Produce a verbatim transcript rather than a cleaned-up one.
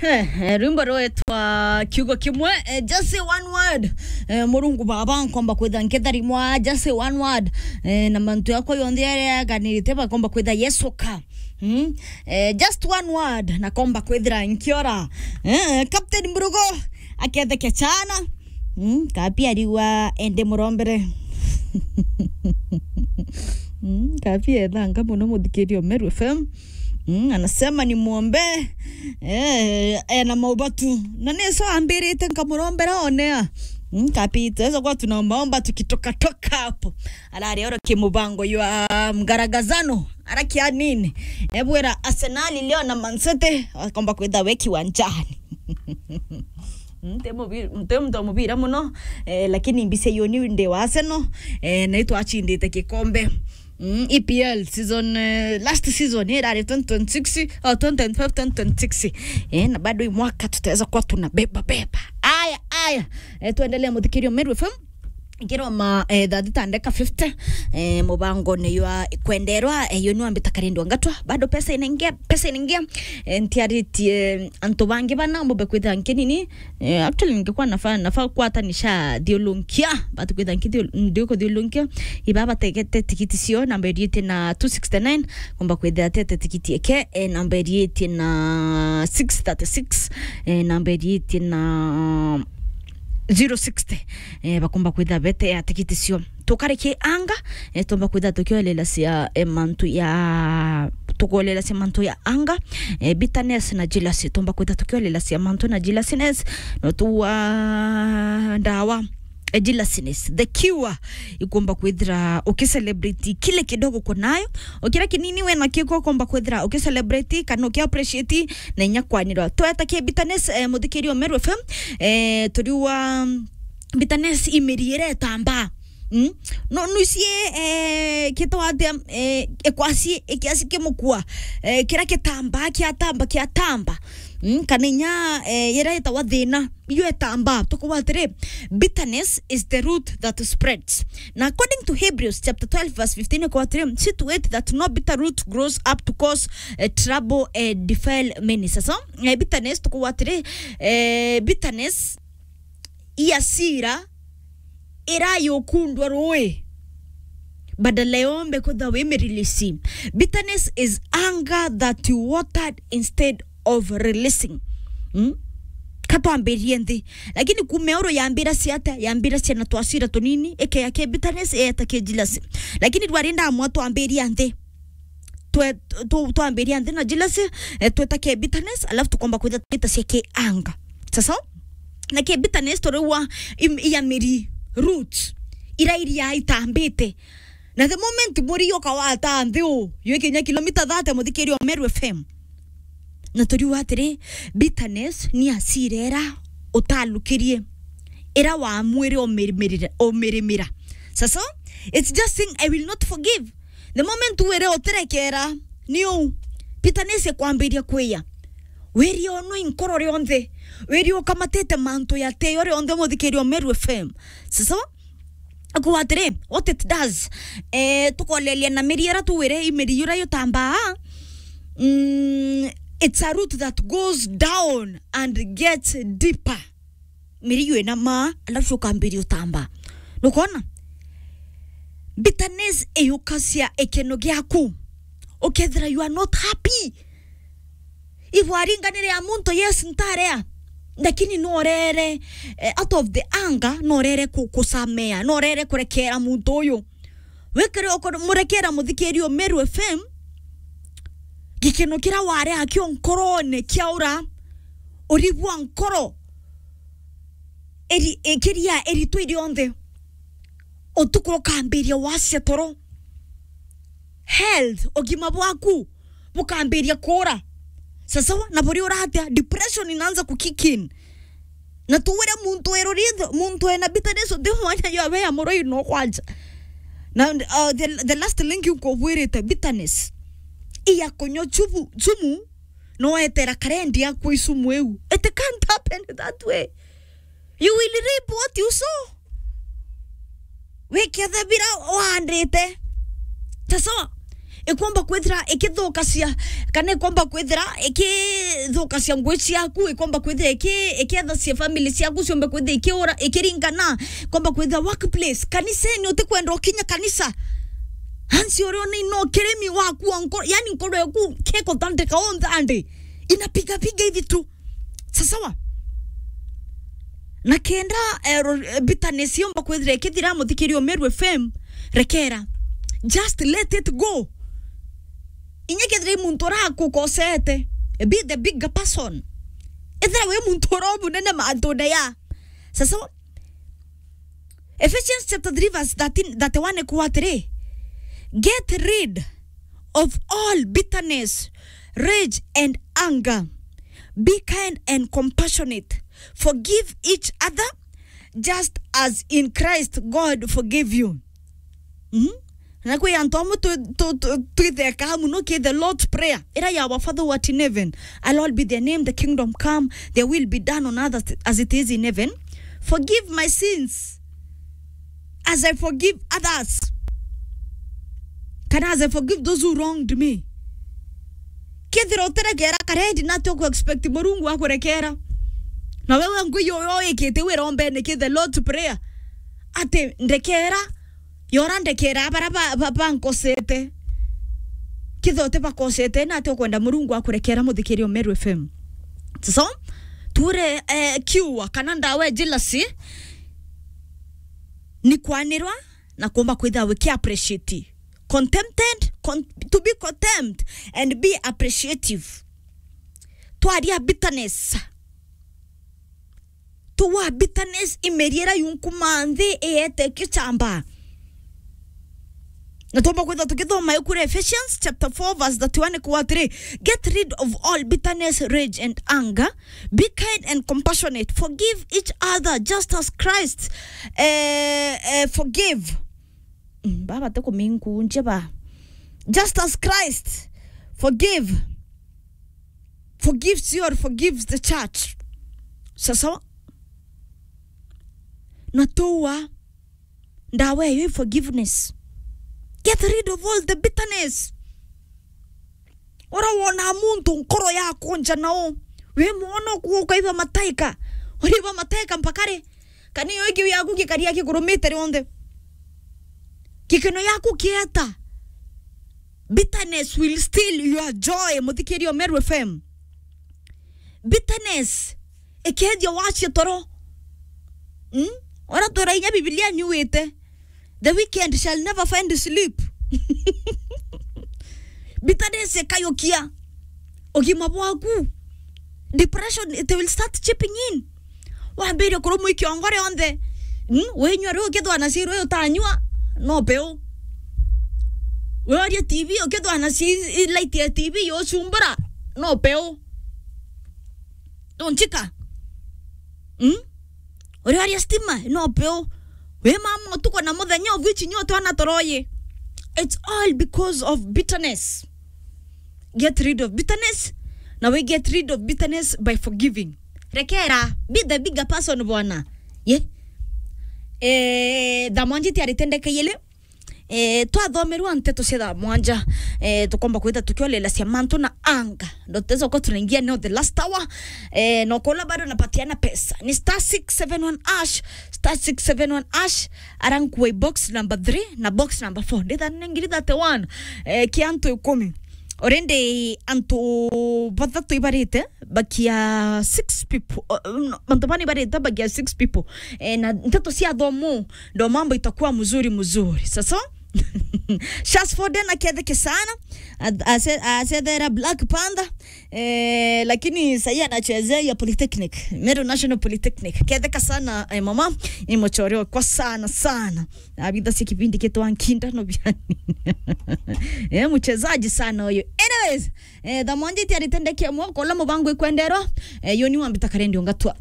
Eh, eh, rwimbo rwetwa Kiugo Kimwe, eh, just say one word. Eh, Murungu Baba, nkomba kwitha nkitharimwa, just say one word. Eh, na mantu yakwa yonthe yaria yaganirite, bakomba kwitha yesoka. Mm? Eh, just one word, na komba kwithira nkiora. Eh, Captain Mburugo, aketheke chana. Mm, kapi ariwa ende murombere. Mm, kapi ethanga muno muthikiria Meru F M. Mm, anasema ni muombe. Eh, ena maubatu. Na niso ambirite nkamurombera onea. Mm, kapi tuweza kuwa tunaombaomba tukitoka toka hapo. Arari oro kimubango ywa mgaragazano. Ara kia nini? Ebwira Arsenal leo na Man City, wakomba kwitha we kiwanjani. Nte mubi-, nte muntu wa mubira muno, eh, lakini mbise yo ni ndi wa Arsenal, eh, na itwachindite gikombe. Mm, E P L season, eh, last season, eh, irari twenty twenty-six, oh, twenty twenty-five, twenty twenty-six. Eh, na bado hii mwaka tutaweza kuwa tuna beba, beba. Aya, aya. Eh, tuendelee muthikirio Meru F M. Ngiroma, eh, thaa thita ndeka fifty, eh, mubangone ywa kwenderwa, eh, yo niwambita karindwa ngatwa. Bado pesa inaingia, pesa inaingia. Eh, ntiaritie antu bangi bana, mumbe kwithira nkinini. Eh, actually, ningekuwa nafaa, nafaa kwatanisha thiulunkia, but kwithira nkithio-, ndikuthiulunkia. Iba bategete tikiti cio, namba iritie na two sixty-nine, komba kwithira tete tikiti eke, eh, namba iritie na six thirty-six, eh, namba iritie na zero sixty, eh, bakomba kwitha bete ya tikiti cio. Tukarikie anga, eh, tomba kwitha tukiolela cia, eh, mantu ya, tukolela cia mantu ya anga, eh, bitterness na jealousy. Tomba kwitha tukiolela cia mantu na jealousiness, no tuwa ndawa, eh, jealousiness. The cure, ikomba kwithira ukicelebrate kile kidogo uko nayo. Ukira kinini we na kiko ukomba kwithira ukicelebrate kana ukiappreciate na inya kwanirwa. Tweta ki bitterness, eh, muthikirio Meru F M, eh, turiwa, mm, bitterness imiri iretamba. Mm? No, nuicie, eh, kitwa atia, eh, ekwasi, ekiasi kimukua, eh, kira kitamba, kiatamba, kiatamba. Mm? Kana inya, eh, yira itawa thina, iyo etamba. Tukuwa atiri, bitterness is the root that spreads. Na according to Hebrews chapter twelve verse fifteen, kwa atiri, "See to it that no bitter root grows up to cause, eh, trouble, eh, defile many." Sasa, eh, bitterness, tukuwa atiri, eh, bitterness, i asira ira yukundwa rui, badala yombe kutha wi mirilisi. Bitterness is anger that you watered instead of releasing. Mm? Katwambirie nthi. Lakini kume oro yambira ciata, yambira ciana twasira tunini, eke yake bitterness, eeta ke jealousy. Lakini rwari ndamwa twambiria nthi. Twe-, tu-, twambiria nthi na jealousy, eh, tweta ke bitterness, alafu tukomba kwitha twita cia ke anger. Sasa, na ke bitterness turiwa im-, iya miri, roots, ira iria itambite. Na the moment muri yoka wata nthi u, ywe kinya kilomita thirty muthikirio Meru F M. Na turiwa atiri, bitterness ni asira ira utalukirie, ira wamwire umirimira, umirimira. Sasa, it's just saying, "I will not forgive." The moment wire utirekera, ni u, bitterness ikwambiria kwiya. Wiri ono inkoro rionthe, wiri ukamatite mantu yateyo rionthe muthikirio Meru F M. Sasa, akuwa atiri, what it does, eh, tukolelia na miri ira tuwire i miri yura yutambaa, mm, it's a root that goes down and gets deeper. Miri yu ina maa, alafu ukambiria utamba. Nukona? Bitterness iyukacia ikeno giaku. Ukethira you are not happy. Ibwaringanire ya muntu, yes, ntarea. Lakini norere, eh, out of the anger, norere ku-, kusamea, norere kurekera muntu uyu. Wikire ukumurekera muthikirio Meru F M, gikeno kira wari akio nkorone kiaura, uribua nkoro, eri-, ikiria eritwe rionthe. Utuku ukambiria wacia toro. Health, ugima bwaku bukambiria kuura. Sasawa, na buri uratia, depression inaanza ku kick in. Na tuwire muntu erurithio, muntu ena bitterness, uthi mwanya yo abe ya muroi no kwanja. Na, uh, the, the last link nkubwirite, bitterness. Iya kunywa chubu, chumu, no etera karendi yaku isumu iu. It can't happen that way. You will reap what you sow. Wiketha bira waandite. Sasawa. Ikomba kwithira ikithukacia, kana ikomba kwithira ikithukacia ngui ciaku, ikomba kwithira iki-, ikethacia family ciaku ciombe kwithira ikiura, ikiringana, ikomba kwithira workplace, kaniseni utikwenda ukinya kanisa. Hansi uria ni no kirimi waku wa nkoro, yani nkoro yaku kikutandika onthe andi. Inapiga piga hivi tu. Sasawa? Na kenda, eh, ro-, eh, bitterness yomba kwithira ikithira, muthikiri o Meru F M, rekera. Just let it go. Inya kethira i muntu urakukosete, be the bigger person. Ethira wi muntu ura ubunene mantune ya. Sasawa? Ephesians chapter three verse thirteen, thirty-one ikuuga atiri, "Get rid of all bitterness, rage and anger. Be kind and compassionate. Forgive each other, just as in Christ God forgave you." Mm? Na kwi antu amwe tu-, tu-, tu-, twithekaga muno ki the Lord's Prayer, ira ya Our Father who art in heaven, hallowed be thy name, the kingdom come, thy will be done on earth as, as it is in heaven. Forgive my sins as I forgive others. Kana as I forgive those who wronged me. Kethira utirekera karedi, nati uku expect Murungu akurekera? Na wewe ngui yo, yo ikite wira ombene ki the Lord's Prayer. Ati ndekera, yora ndekera bara ba, ba, bankosete. Kethira uti bakosete, nati ukwenda Murungu akurekera, muthikiri o Meru F M? So, ture, eh, kiua kana ndawa ya jealousy ni kwanirwa na kumba kwithira wiki appreciate. Contented, con-, to be content and be appreciative. Twaria bitterness. Tuwa bitterness imeriera yunkuma nthi iete kichamba. Na tuomba kwithira tukithoma iku ria Ephesians chapter four verse thirty-one ikuuga atiri, "Get rid of all bitterness, rage and anger. Be kind and compassionate. Forgive each other just as Christ, eh, eh, forgive." Mm, baba te kuminkunje ba. "Just as Christ forgive, forgives you or forgives the church." Sasawa? Na tuwa ndawa eyo i forgiveness. Get rid of all the bitterness. Ura wona muntu nkoro yakunja nao, wi mwono ku-, ukaiba mataika, uriba mataika mpaka ri? Kana iyo ikiu yaku gikaria gikurumite rionthe? Gikeno yaku kieta. Bitterness will steal your joy, muthikiri o Meru F M. Bitterness ikethia wacia toro. Mm? Ora twira inya Biblia niuite, "The wicked shall never find sleep." Bitterness ikayukia ugima bwaku. Depression, it will start chipping in. Wambiririe kurumwa i kiongo rionthe. Mm? Winyua riu ukithwa na ciiru utanyua, no peu. Wioria T V ukithwa na ci-, i light ya T V yucumbura, no peu. Ndunchika. Mm? Urioria stima, no peu. Wi mama utuku na muthenya, of which nyo twana toroyi. It's all because of bitterness. Get rid of bitterness. Na we get rid of bitterness by forgiving. Rekera. Be the bigger person, bwana. Ye? Eh, thaa mwanja itiaritendeka yele. Eh, twathomerwa nteto cia thaa mwanja, eh, tukomba kwitha tukiolelacia mantu na anga. Ndo tuteza uko tunaingia neo the last hour. Eh, no kola bado napatiana pesa. Ni star six seven one hash, star six seven one hash, arankua box number three na box number four. Nditha nengiri thirty-one, eh, kia antu ikumi. Already antu bathatu ibarite, bakia six people. Uh, no, antu bana ibarite, bakia six people. Eh, na nteto cia thomu, ndo mambo itakuwa mzuri mzuri. Sasa, Shasford anaketheke sana. Ase-, asethera Black Panther. Eh, lakini sahi anachezea ya Polytechnic. Meru National Polytechnic. Ketheka sana, eh, mama. Ni muchore kwa sana sana. Abitha si kipindi kitwa nkinda no biani. Eh, mchezaji sana huyo. Anyways, eh, thaa mwanja itiaritendeke mwako, la mubango ikwenderwa. Eh, yoni wambita karendi ungatwa.